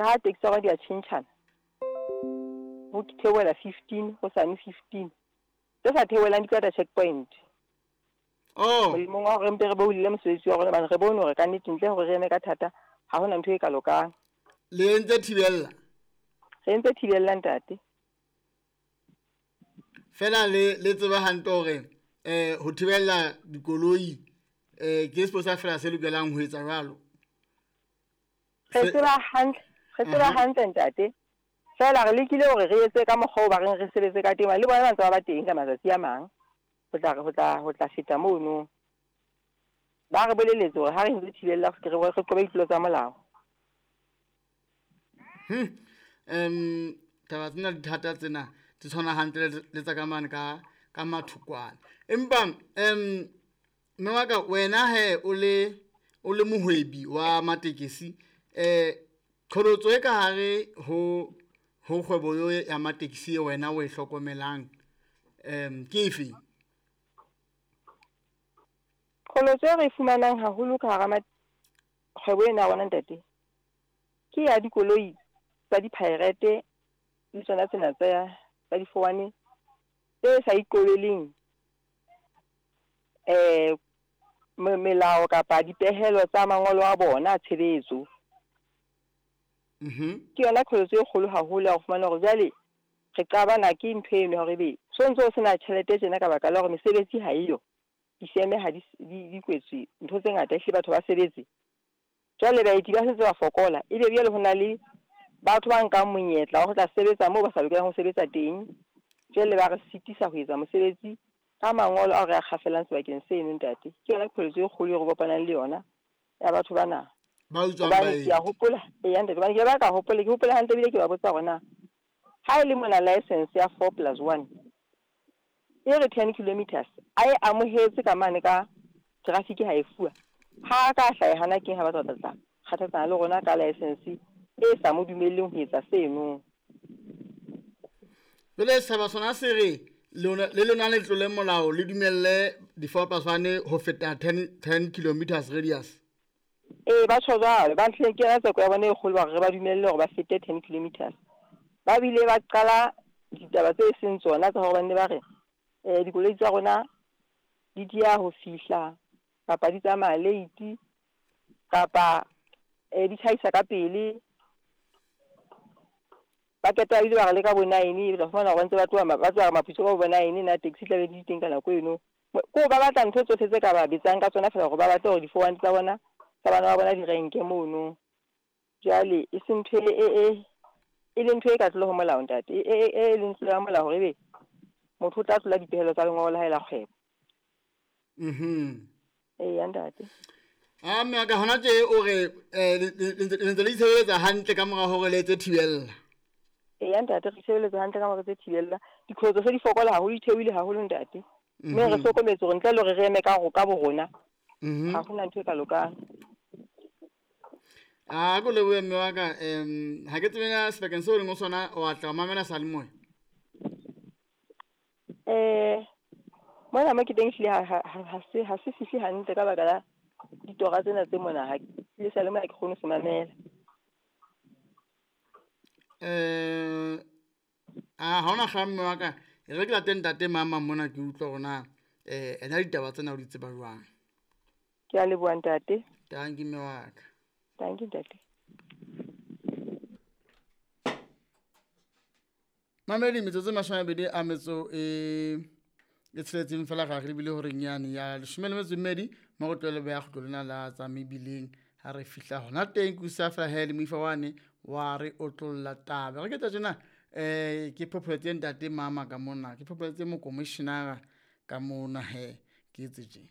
Ka ha taxi tsa rona di a tjhentjhana, ho theohela 15, hosane 15. Tse sa theohelang di tla checkpoint. Oh. Molemong wa hore re mpe re boulele mosebetsi wa rona, hobane re bone hore kannete ntle hore re eme ka thata, ha hona ntho e ka lokang. Le entse thibella? Re entse thibella, ntate. Fela le tseba hantle hore ho thibella dikoloi ke sepolesa fela se lokelang ho etsa jwalo. Re tseba hantle, re tseba hantle ntate. Fela re lekile hore re etse ka mokgwa o ba reng re sebetse ka teng, le bona ba ntse ba ba teng ka matsatsi a mang. Ho tla feta mono. Ba re boleletse hore ha re ntse thibella re qobe ditlolo tsa molao. Taba tsena di thata tsena, di tshwana hantle le tsa ka mane ka mathokwana. Empa mme wa ka wena he o le mohwebi wa matekesi, qholotso e ka hare ho kgwebo eo ya matekesi e wena o e hlokomelang, ke efe? Qholotso e re fumanang haholo ka hara kgwebo ena ya rona ntate, ke ya dikoloi tsa di-pirate le tsona tsena tsa difowane tse sa ikobeleng melao kapa dipehelo tsa mangolo a bona a tshebetso. Ke yona qholotso e kgolo haholo ya ho fumana hore jwale re qabana ke ntho eno ya hore ebe so ntso o sena tjhelete tjena ka baka la hore mesebetsi ha eyo, difeme ha di kwetswe, ntho tse ngata ehlile batho ba sebetse. Jwale baeti ba setse ba fokola, ebe jwale ho na le batho ba nkang monyetla wa ho tla sebetsa moo ba sa lokelang ho sebetsa teng. Jwale ba re sitisa ho etsa mosebetsi ka mangolo ao re a kgafelang sebakeng seno ntate. Ke yona qholotso e kgolo e re kopanang le yona ya batho bana. Ba utswang baeti. Ke a hopola, eya ntate, hobane ke ba ka hopola, ke hopola hantle ebile ke ba botsa hore na ha e le mona license ya 4+1 e re 10 kilometers, a e amohetse ka mane ka traffic ha e fuwa. Ha ka hlaha hana keng ha ba tla tla kgathatsana le rona ka license e sa mo dumelleng ho etsa seno. Jwale setjhaba sona se re le lona le tlole molao le dumelle di 4+1 ho feta 10 kilometers radius. Ee, ba tjho jwalo, ba ntlheng ke yona tseko ya bona e kgolo hore re ba dumelle hore ba fete 10 kilometers. Ba bile ba qala ditaba tse seng tsona tsa hore ba nne ba re dikoloi tsa rona di dia ho fihla kapa di tsamaya late kapa di tjhaisa ka pele. Ba qeta ebile ba re le ka bo 9, ba fumana hore ba ntse ba tloha ba tloha Maputsoe ka bo 9, na taxi tla be di teng ka nako eno. Ko ba batla ntho tsohle tse ka ba betsang ka tsona fela hore ba batle hore di-4 tsa bona tsa bana ba bona di renke mono. Jwale e se ntho e le ntho e ka tlolo ho molao ntate, e leng tlolo ya molao hore ebe motho o tla tlola dipehelo tsa lengolo la hae la kgwebo. Eya ntate. A mme ka hona tje o re le ntse le itshebeletsa hantle ka mora hore le etse thibella. Eya ntate, re itshebeletsa hantle ka mora tse thibella. Diqholotso se di fokola haholo, di theohile haholo ntate. Mme re hlokometse hore ntle le hore re eme ka bo rona, ha hona ntho e ka lokang. A ko lebohe mme wa ka, ha ke tsebe na sebakeng seo o leng ho sona wa tla mamela seyalemoya. Mona mo ke teng ehlile ha se fihle hantle ka baka la ditora tsena tse mona, ha le seyalemoya ha ke kgone ho se mamela. Ha hona kgang mme wa ka, e re ke late ntate mama mona ke utlwa hore na ena ditaba tsena o di tseba jwang. Ke a leboha ntate. Tanki mme wa ka. Tanki ntate. Mamedi metsotso e 22 a metso e tsheletseng fela ga re lebile hore nyane ya 12 mo go tlwele beya kgutlo lena la tsa mebileng ha re fihla hona teng ke usa fela he le moifa wane wa re otlolla taba. Re ke tla tjena ke phopholetse ntate mama ka mona, ke phopholetse mokomishenara ka mona he ke etse tje.